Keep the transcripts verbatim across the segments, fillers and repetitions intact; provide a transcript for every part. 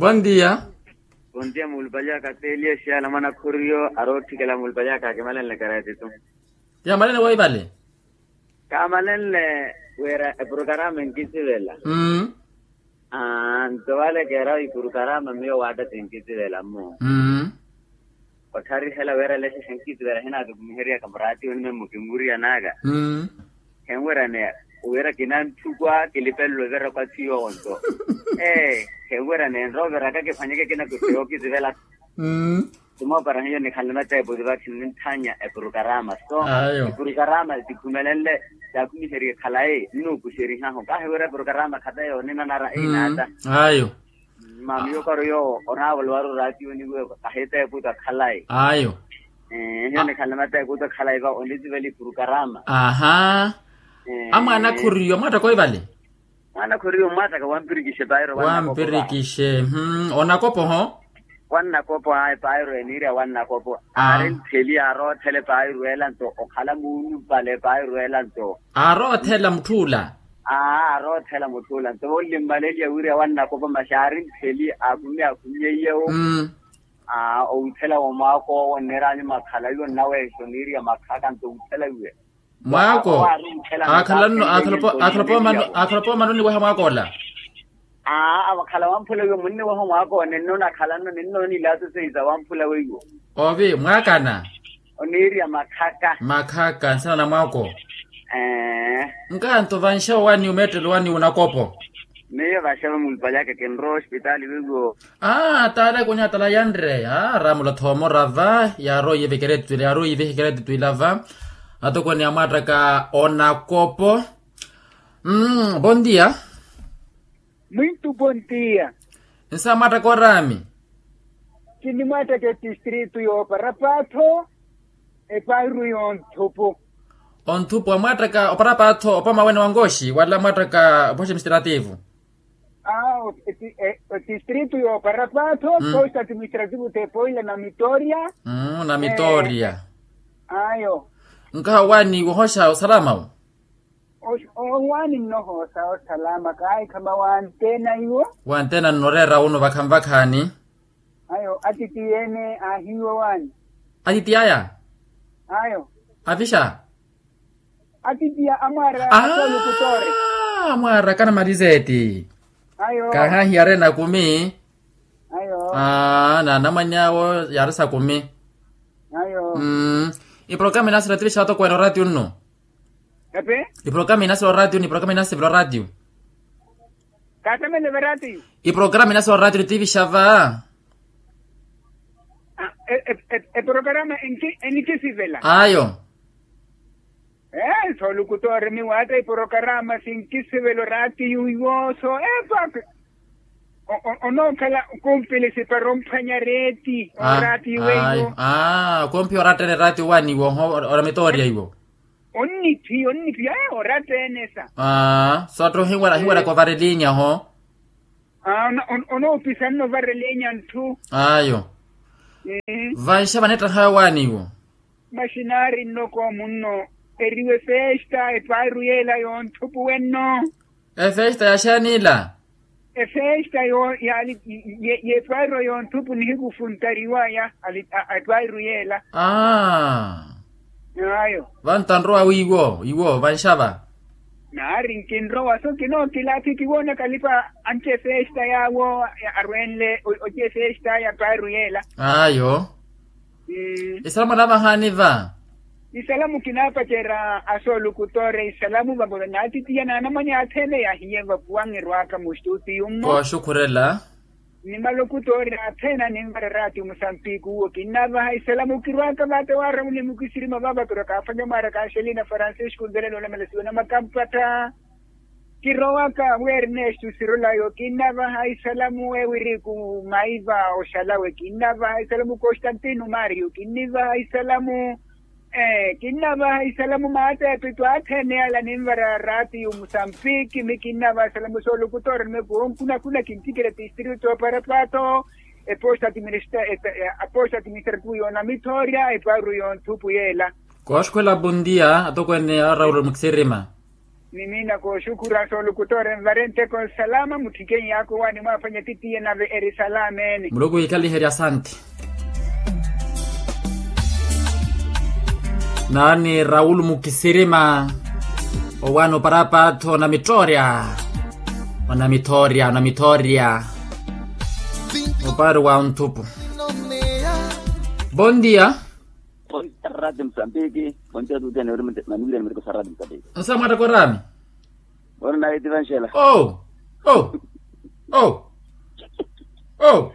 Bondia. Bondia muulupali aka teeliya exiyala mwana khuriyo arootthikela muulupali aka akimalenle karetitu. Ti amalenle woivale. Kaamalenle wira epurukarama enkisivela. Nto wale keera ipurukarama miyo waatta tinkisivela mmu. Ottharihela wira lexe xenkisivela hinaatukumiheryaka muraatiyo nime mukimuriyanaka. Khenwiraneya wira kinantthukw'a kilipelelo vira kwa thiyo onto. Ee, khenwiraneya nroviraka kiphwanyeke kinakutte yookisivela. Timoopara hiyo nikhanle mateepo ti vakhi ninthanya epurukarama so. Epurukarama tikhumelenle. Taakhumiherye khalayi nnuukuxerihahu kahi wira epurukarama khata yoonina nara einaata. Ayo. Mamiyo karo yoowo onaavolowaru oraatiyo niwevo kahi teepo takhalayi. Ayo. Hiyo nikhanle mateepo takhalayi va onlisi vale epurukarama. Aha. Amwaana khuriyo mwaattaka oivale. Mwaana khuriyo mmwaattaka wampirikixe pairo wampirikixe. Onakopo ho. Wannakopo ayi pairo eniirya wannakopo. Aarintheli aaroothela epairo ela nto okhala muunupale epairo ela nto. Aaroothela mutth'ula. Aa aaroothela mutth'ula nto vonlimmaleliya wirya wannakopo masi aarintheli aakumi aakumi eiyewo. Aa owuthela womwaak'owo nneeraanyu makhala iwo nnaweexa oniirya makhaka nto owuthela iwe. Mwaako. Aakhala nno. Aakhala poomano niweha mwaak'ola. Aa akhala wamphula iwe munniweha mwaak'owo ninno nakhala nno ninno nilaaso seiza wamphula weiwo. Ovi mwaakana. Oniirya makhaka. Makhaka nsana na mwaako. Nkanto vanxevo wani omeettelo wani onakopo. Miyo vaxava mulipalyaka kinrowa ospitaali wiiwo. Aa taala ikunyatala yanre aa raamula thoomora va yaaroiye vekeretitwila yaaroiye vekeretitwila va. Atokoni amwaattaka onakopo. Mmm bondia. Mwintu bondia. Nsa mwaattaka oraami. Kinimwaattaka etistritu yooparapatho. Epairu yonthupu. Onthupu amwaattaka oparapatho opamawene wa nkoxi wala mwaattaka opoxi administrativu. Aa otistritu yooparapatho poxi administrativu t'epoila na mitoria. Na mitoria. Ayo. Nkaha owaani wohoxa osalama wo. Owaani nnohoxa osalama kaahikhama wanteena iwo. Wanteena nnoreera wunu vakhanvakhaani. Ayo atitiye-ene aahiiwa waani. Atitiye aya. Ayo. Avixa. Atitiya amwaara asolukutoore. Amwaara kana malizeeti. Ayo. Kahaahiyari enakumi. Ayo. Aa na anamwany'awo yaari sakumi. Ayo. Iprogramu inasira tivixa atokwene oratiu nnu. Epi. Iprogramu inasira oratiu ni iprogramu inasivela oratiu. Kaatamele va raatiyo. Iprogramu inasira oraatiyo tivixa va. Eprogramu enikisivela ayo. Ee soolukutoori miwaatta iprogramu sinkisivela oraatiyo iwo so epa. Onookhala kumpilisi para omphwanya reeti oraatiyo weiwo. Aa kumphiya orattene raatiyo waani iwo oho. Ora mitooriya iwo. Onniphiya onniphiya ee orattene sa. Aa sotthu ohinweraka ovarelinya ho. Onoopisanna ovarelinya ntthu. Ayo. Vanxa vanettahayo waani iwo. Maxinaari nnoko munno eriwe efesta epairu yeela yonthupu wenno. Efesta yaxeeni ila? Efesta y'epairu yonthupu nihiku funtariwaya. Epairu yeela. Ayo. Vantanrowa wiiwo iwo vanxava. Naari nkinrowa so kinookilaathi kiwoona kalipa anci efesta yaawo. Arwenle oci efesta ya paaru yeela. Ayo. Isalamu anavahaani va. Isalamu kinaapacerya asoolukutore isalamu vavo naatitiya naanamwanya athene yaahiye vapuwangerwaka mustutiyu mmo. Kooxukhurela. Ni malukutore athene animvara raatiyo musampiki uwo kinnavaha isalamu kirwaka vate waaramu ni mukisirima vava kirwaka afanya mwaara kaaxelina francisco nzerele olamela siwe na makampatta. Kirowaka wi ernesto sirolayo kinnavaha isalamu ewiriku maiva oxalawe kinnavaha isalamu constantino mario kinnivaha isalamu. Kinnavaha isalamu maateepitwe athene ala ninvara raatiyo musampiki mi kinnavaha isalamu soolukutore nime kuwonkunakuna kintikira tistritu oparapato. Eposta administrativo yoona mithoorya epaaru yonthupu yeela. Kooxukhwela bondia atokweene arauro mukisirima. Ni miina kooxukura soolukutoore nvare nteko nsalama mutthikeni yaakowani mwaphwanya titiye nave eri salameni. Muluku wiikaliherye asanti. Naani raul mukisirima. Owaani oparapatho onamittoorya. Onamittoorya onamittoorya. Opaari wa onthupu. Bon dia. Bon dia rati musambiki. Bon dia tuti aneori manivira nimiriko sa rati musambiki. Nsa mwattakorami. Ori naye ti vanxela. Oh. Oh. Oh. Oh.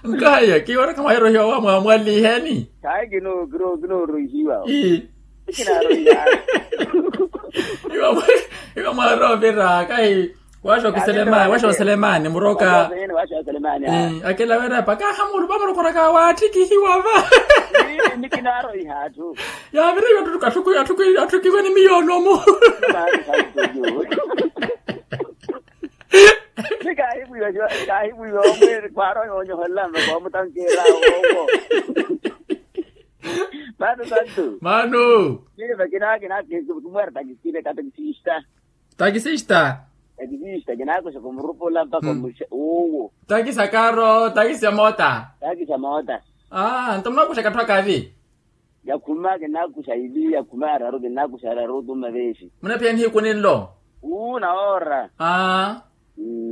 Nkaya kiwona khamwahirohiwa wamwamwaliheni. Kaye kino kino kino rohiwa. Ii. Kinarohiwa. Iwa mwa- iwa mwaroovira kahi. Washo kiselemani washo selemani muroka. Washo selemani. Akela wera paka hamulu vamurokoraka waattikihiwa va. Ni kinarohiha atthu. Yaviriwe atthu atthukiwe ni miyonomu. Ni kahivwiwa kahivwiwa omwiri kwaronya onyoholela mva kwamutankera. Owo. Mano santu. Mano. Kile vakina kina kile kumwera takisile katakisista. Takisista. Takisista kinakoxa kumurupula mpaka omuxa uwo. Takisa karo takisa mota. Takisa mota. Aa nto munakuxa katthu akavi. Yakhuma kinakuxa ili yakhuma araru kinakuxa araru otuma vexi. Munaphiya nihiku ninlo. Uu nawoora. Aa.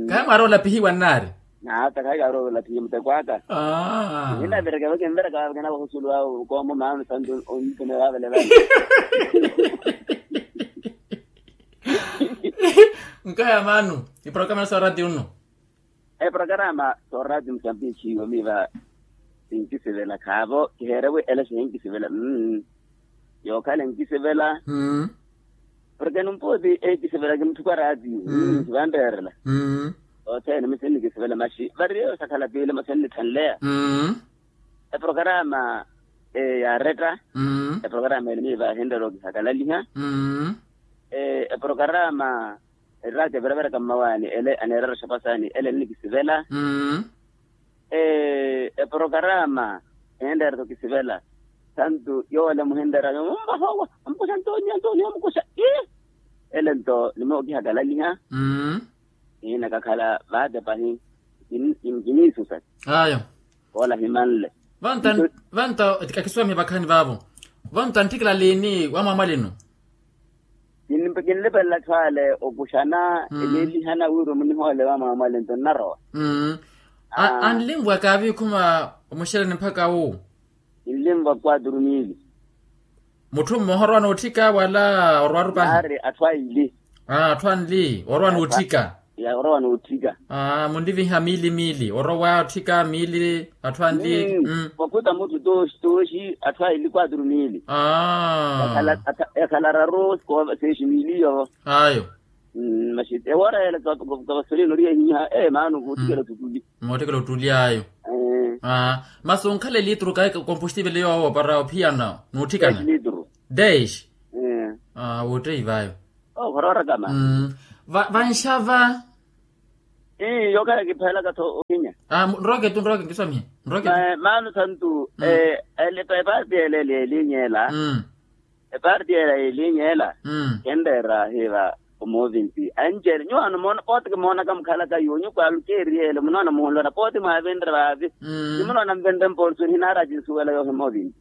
Kahi mwaari olapihiwa nnaari. Naata kahi kaari olapihiwa muteko aka. Aa. Ninavireka vakinvireka vava kinakuxa osulu awo koomo maano santu onipene vavale vale. Nkaya maano. Iprokamana sa orati unno. Eprokarama soorati musambiki yomiiva. Sinkisivela khaavo kiheerewe ele sihinkisivela. Yookhala enkisivela. Porke numpooti enkisivela kimutthuka raati. Sivanreerela. Othene mi sinnikisivela maxi variyo sakhala piili mo sinnitthanleya. Eprokarama yaaretta. Eprokarama ele miiva ahinrela okihakalaliha. Eprokarama eraka eviraviraka mmawaani ele aneerera oxapasani ele ennikisivela. Eprokarama ehinreera-tho okisivela. Santu yoola muhinreera yoomuvahowa amukuxa antonia antonia amukuxa. Ele nto nimookihaka alaliha. Iina kakhala vaatepahi. Kiniisusa. Ayo. Koola himanle. Vanto akisuwamihe vakhaani vaavo. Vanto antthikila liini wamwamwalinu. Kinlipelela atthu ale okuxana. Eniilihana wira omunihoole wamwamwale nto nnarowa. Anlinvwa kaavikhuma omuxereni mpakha wu. Kinlinvwa quatro mili. Mutthu mmoha orowa nootthika wala orowaru pahi? Naari atthu aili. Atthu anli orowa nootthika. Orowa nootthika. Munliviha miili miili orowa otthika miili atthu anli. Wakhuta mutthu tooxi tooxi atthu aili quatro mili. Yakhala araru. Seexi miili yo. Ayo. Maxi ewoora yela kavasoleni ori yahiha ee maano kootthikela ottuli. Mootthikela ottuli ayo. Masi onkhala elitru kayi kompostivele yoowo para ophiyana nootthikana? Dex. Wootteyi vayo. Okhoroorakama. Vanxava. Ii yookhala kiphelaka-tho okinya. Nrooke tu nrooke nkiswamihe. Nrooke tu. Maano santu. Eparti ela elinyela. Eparti ela elinyela. Kenreera hiva omovinti anjeli nyuwaano moona pooti kimoonaka mukhalaka yuwo nyukwaalu keeriyele munoona muhulwana pooti mwaavinre vaavi. Nimunoona nvinre mporsoni hinaara akinsuwela yoohi movinti.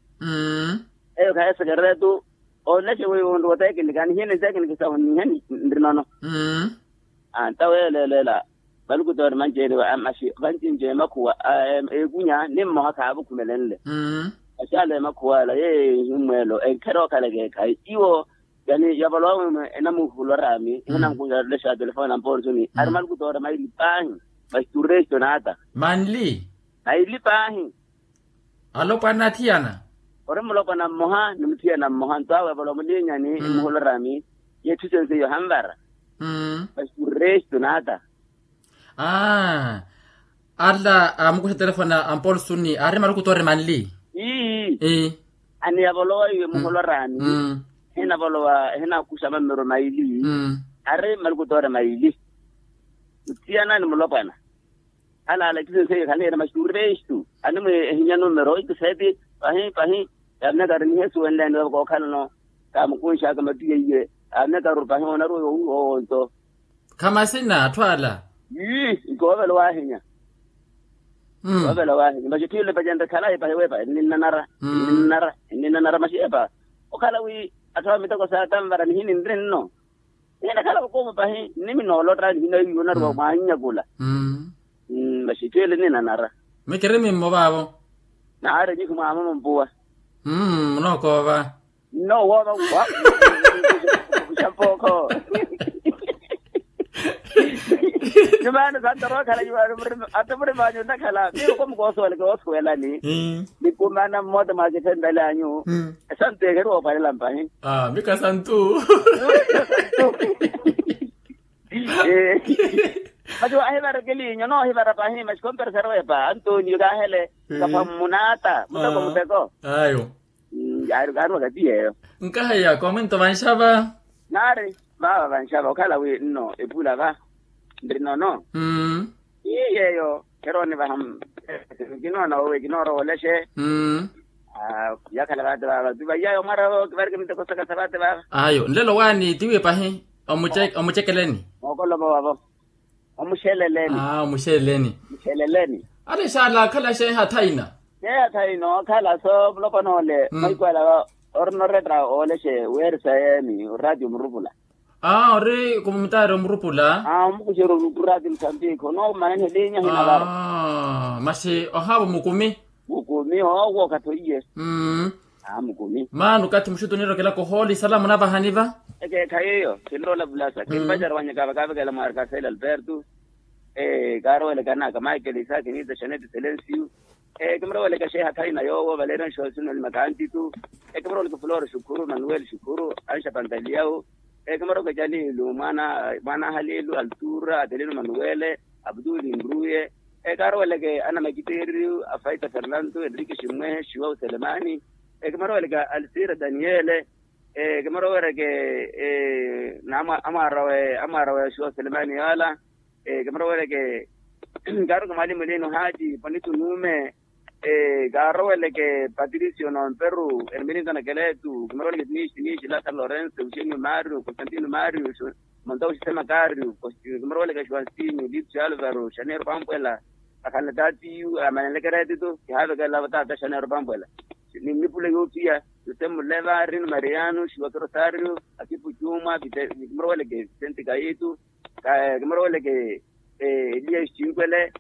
Eyo khaye sekeretu. Onlexe weiwo nruwo tekiniki anihina ntekiniki sahu nihe nri nono. Antaweelelela. Valukutoori manceeriwa amaxi vancinci emakhuwa. Ekunya ni mmoha khaavukhumelenle. Maxaala emakhuwa ala yeeyo ehimmweelo enkherookhalaka ekhayi iwo. Yani yavolowa mwemwe enamuhulwa raami ehinankunya yatulesha telefoni na mporsoni ari malukutoori maili paahi. Maxi turesto naata. Manli. Maili paahi. Alopwana athiyana. Ori mulopwana mmoha ni muthiyana mmoha nto awe avolowa mulinyani emuhulorami. Yetthu sense iyo hanvara. Masi restu naata. Ala amukuxa telefoni a mpolsuni aari malukutoori manli. Ii. Aniyavolowa iwe muhulorami. Ehinavolowa ehinakuxa mammero maili. Aari malukutoori maili. Muthiyana ni mulopwana. Halaala ekisenseiyo khaniira maxi turestu animwe ehinya numero itiseeti. Pahi pahi. Yaamina kari nihesuwenleni vavo kookhalano. Kaamukunxaka matwiya iye. Yaamina kari pahi onaruwa yowuuwa owonto. Khamasina atthu ala. Ii, nkoovela owahinya. Nkoovela owahinya maxi tthiyole pacenre khalayi pahi wepa enninnanara. Enninnanara enninnanara maxi epa. Okhala wi atthu a miteko saatanvara nihini nri nno. Nihina khala vakuumu pahi nnimi noolotta nihina iwo onaruwa mwaannyakula. Maxi tthiyole nninanara. Mikiri mimmo vaavo. Naari nyihi mwaamuma mpuwa. Munookoova. Nno wooma wa kukuxa mpookho. Nyumaano santorookhala nyumaano muri atumuri maanyu nnakhala miyo komukoosoweleke woosuwelani. Nikumana mmoota mwa kifentale anyu. Esantu ekeri woopalela mpahi. Mika santu. Masi waahivara kiliinyo noohivara pahi masi komperesari wepa antoniyo kaahele. Kapha mmunaata muteko muteko. Ayo. Yaari kaari wakati yeeyo. Nkaheya koomwento vanxava. Naari vaava vanxava okhala wi nno epula va nri nono. Ii yeeyo kheroonivaha. Kinoona owe kinoorowa olexe. Yakhala vaate vaava tu vaiyayo mwaravo kivarike miteko saka sa vaate vaava. Ayo nlelo waani tiwi pahi. Omucekeleni. Mookolova wavo. Omuxeleleni. Omuxeleleni. Muxeleleni. Alexa ala akhala xeeha thaina. Xeeha thaina okhala so mulokonoole. Mahiku ala orina oretta oolexe weerisa yeeni oraatiyo murupula. Ori kumumutaari omurupula. Omukuxerya orupula ti musambiki onoomananiha elinya hina vara. Masi ohaavo mukumi. Mukumi owo okathi oiye. Mmm. Mukumi maana okathi muxutu oniirokela kohooli salamu navahani va. Ekeekhayi eyo kinloola vulasa kimpacari wanyaka vakavekela mwaari kasele alberto. Kaarowelekana ka michael isaki nita xanete selencio. Kimuroweleke xeeha thaina yoowo valeeriwa nxoosino ni makantitu. Kimuroweleke flore xukhuru manuel xukhuru anxa pantaliau. Kimuroweleke jalilu mwaana ahalilu altura adelino manuele abduli nruye. Kaaroweleke ana makiteeriyu afaita fernando enrique ximwehe xiwau selemani. Kimaroweleke alsira daniele. Kimaroweleke na amwaara we amwaara we xiwau selemani yaala. Kimaroweleke kaaroweleke mwalimu lino haaji ponitu nuume. Kaaroweleke patricio nomperu ermilintana keletu kimaroweleke tinishi tinishi lasa lorense uxenio mario constantino mario. Monta uxisema kario kimaroweleke xuansinio lipsi alvaro xaneiro pampwela. Akhanle taatiyu amanenleke reetitu kihaavekela taata xaneiro pampwela. Ni nnipule yoophiya yosemu leva rino mariano xiwakiro sario akipu cumwa kimaroweleke vicente kayitu. Kimaroweleke eliya xicinkwele.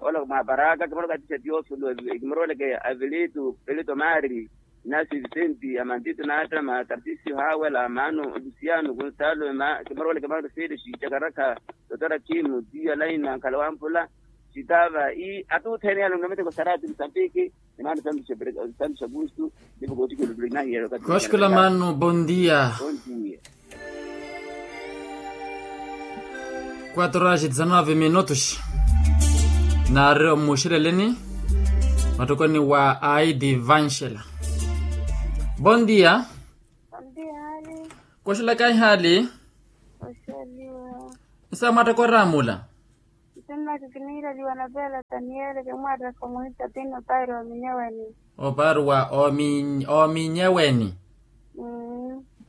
Ola mwaparaka kimaroweleke atixa tiofilo. Kimaroweleke avilito pelito mari nasi vicente amantito naattama tartisio haawela mano lusiano kunsalo. Kimaroweleke mano felixi cakarakha totora kimu tiyo alaina nkhala wampula. Sitava ii atuthene yalonga miteko sarati musambiki. Ni mano santu xagustu. Nipo kootikelo tulinahiya. Koxikola mano bondia. Quatro horas e dezanove minutos. Naari omuxeleleni matokoni wa aidi vanxela. Bondia. Koxelaka ihaali. Nsa mwattaka oraamula. Nsinnaka kiniireliwa na pela taniele kimwattaka omuhisa tini opaari wa ominyeweni. Opaari wa ominyeweni.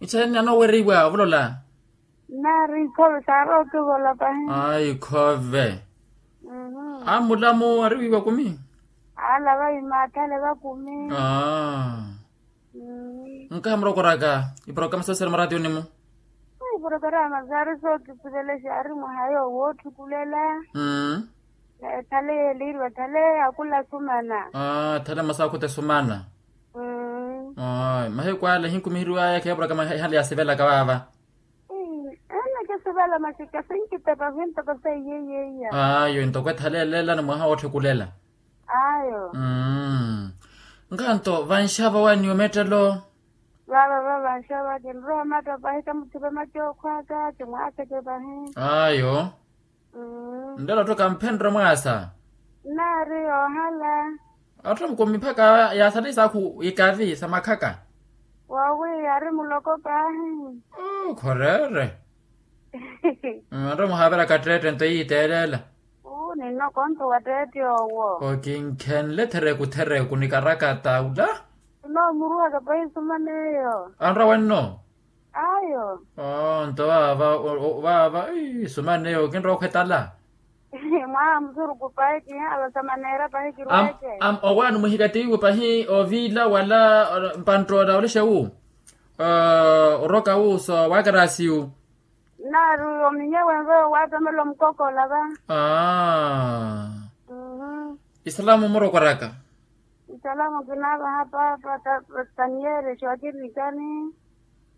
Ixeeni anoweriwa ovulola. Nnaari ikhove saari okivola pahi. Ai ikhove. Ammulamu ariwiiwa kumi. Aala vaima athale vakumi. Nkahi murokoraka iporokaramu soosera maraatiyoni-mu. Iporokaramu saari sookisivelexa ari mwaha yoowo wootthikulela. Thale yeeliiriwa thale akula sumana. Thale masa akhuta esumana. Mahiku ale ehinkumiheriwaya kheeporokaramu ehale yaasivelaka vaava. Ene kisivala masi kasinkitepa vintoko seiyeiyeiya. Ayo entoko ethalelela ni mwaha wootthukulela. Ayo. Nkanto vanxava waniyo mettelo. Vava va vanxava kinrowa matta pahi kamuthipe macookhwaka kimwaaseke pahi. Ayo. Nlelo tto kamphenrwe mwaasa. Nnaari yoohala. Atthu amukomi mpakha yaasala isaakhu ikavi sa makhaka. Woowi yaari muloko paahi. Khorere. Atthu amuhaaveraka tteette nto yiiteelela. Uu ninno konto wa tteette owo. Kokinkhenle thereku thereku ni karakata ula. Kinomuruhaka pahi sumana eyo. Anrwa wenno? Ayo. Nto vaava vaava sumana eyo kinrowa okhwetala. Mwaha musuruku pahi kihaava samaneera pahi kirweke. Owaani muhikattihiwe pahi oviila wala mpanttoola olexa wu? Oroka wu so wakarasiyu. Nnaari ominyewe nve waatamela omukokola va. Isalamu murokwaraka. Isalamu kinaavaha paapa taniyere xootirikani.